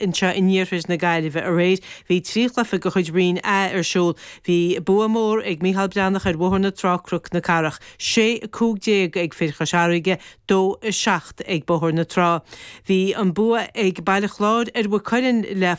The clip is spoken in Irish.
Anseo in iarthar na Gaillimhe aréir, bhí 3 chluiche de chuid Roinn A ar siúl. Bhí bua mór ag Mícheál Breathnach ar Bhóthar na Trá, Cnoc na Cathrach. 6, 15 ag fir Chois Fharraige, 2, 7 ag Bóthar na Trá. Bhí an bua ag Baile Chláir ar Mhaigh Cuilinn le.